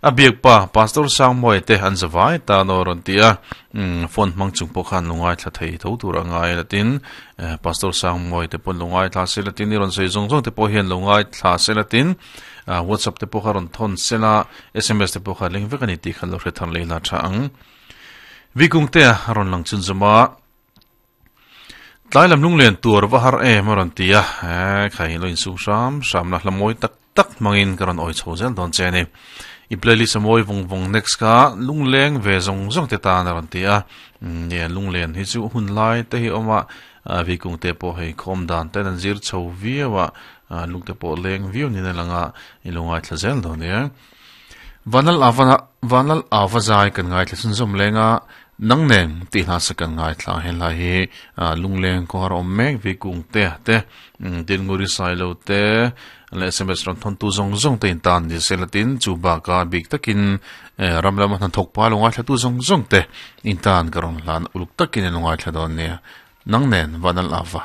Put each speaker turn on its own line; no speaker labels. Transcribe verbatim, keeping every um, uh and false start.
A biak pa Pastor Sangmoi te an zawai ta no ron tia phone mang chung pawh khan lungai thla thei tho tur angai latin Pastor Sangmoi te pon lungai thla se latin ni ron sei zong zong te pawh hian lungai thla se latin WhatsApp te pawh kha ron thon sela S M S te pawh kha leng vek ani ti khan lo hre thar leila tha ang vikung te ron lang chun zuma tlai lam lunglen tur va har em ron tia khai lo in sung sam sam na hlamoi tak tak mangin karon oi chho zel don che ni i playlist amoi vong vong next ka lungleng ve zong zong te ta na ron tia ne lunglen hi chu hun lai te hi oma vikung te po hei khom dan te nan zir chho viawa lung te po leng viu ni na langa ilungai thlazel don ne vanal avana vanal avazai kan ngai thlasun zom lenga nang nen ti hla sakan ngai thla hen la hi lungleng ko har om mek vikung te te din nguri sai lo te le S M S ron thon tu zong zong te in tan ni selatin chu ba ka big takin ramlam han thok pa lungai thla tu zong zong te in tan karon hlan uluk takin lungai thla don ne nang nen vanal ava.